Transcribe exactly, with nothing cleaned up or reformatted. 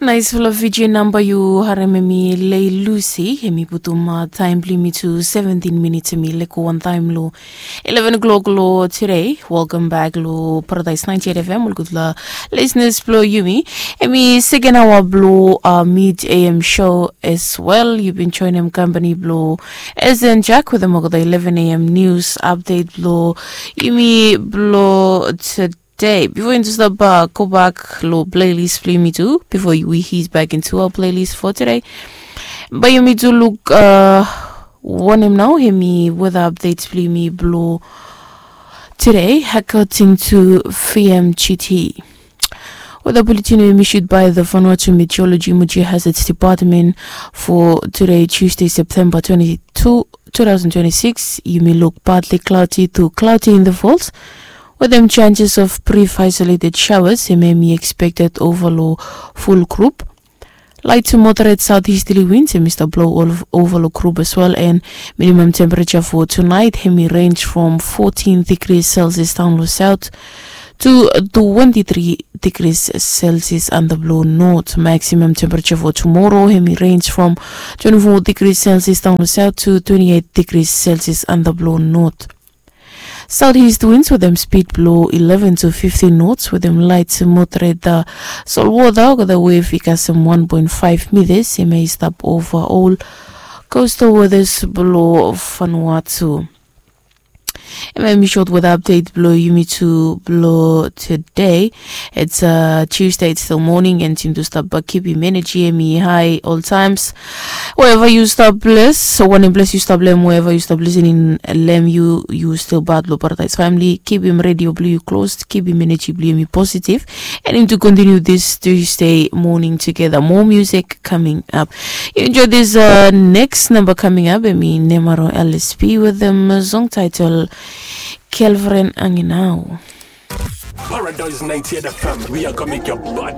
Naispela viji namba yu harem em i lei lusi, em i putum taem blong yumi tu seventin minits, em i leko wantaem long eleven o'clock long tude. Welkam bek long Paradaes ninety eight F M, ol gutpela lisenas blong yumi. Em i seken aoa blong mid A M show as well. Yu bin joenem kampani blong Esen Jack wetem olgeta eleven A M nius apdet blong yumi blong tude. Bifo yumi tu stap gobak long plelis blong yumi tu, bifo we hit bek into a plelis fo tude, bae yumi tu luk wanem nao em i weta apdet blong yumi blong tude, according to V M G T. Weta buletin we em i issued by the Vanuatu Meteorology Emergency Hazards Department for tude, Tuesday, September twenty-two, two thousand twenty-six, yumi luk partly cloudy to cloudy intervals wetem chances of brief isolated showers, em i expected ova long ful grup. Light to moderate southeasterly winds em i stap blow ova long grup as well, and minimum temperature for tonight em i range from fourteen degrees Celsius down long south to twenty-three degrees Celsius under blow north. Maximum temperature for tomorrow em i range from twenty-four degrees Celsius down long south to twenty-eight degrees Celsius under blow north. Southeast winds wetem speed blong eleven to fifteen knots wetem light to moderate solwota olgeta wave i kasem one point five meters, em i stap ova ol coastal waters blong Vanuatu. Em i short weather update blong yumi tu blong today. It's uh, Tuesday, it's still morning, and yumi tu stap kipim energy em i high all times. Wherever you stop bless, so wanem bless you stop lem, wherever you stop listening lem, you you still part blong Paradise family. Kipim radio blong yu close, kipim energy blong yumi positive, and yumi tu continue this Tuesday morning together. More music coming up. You enjoy this uh, next number coming up. Em i Nemaro L S P with the song title Kelveren Anginau. Paradise ninety-eight F M, we are gonna make your blood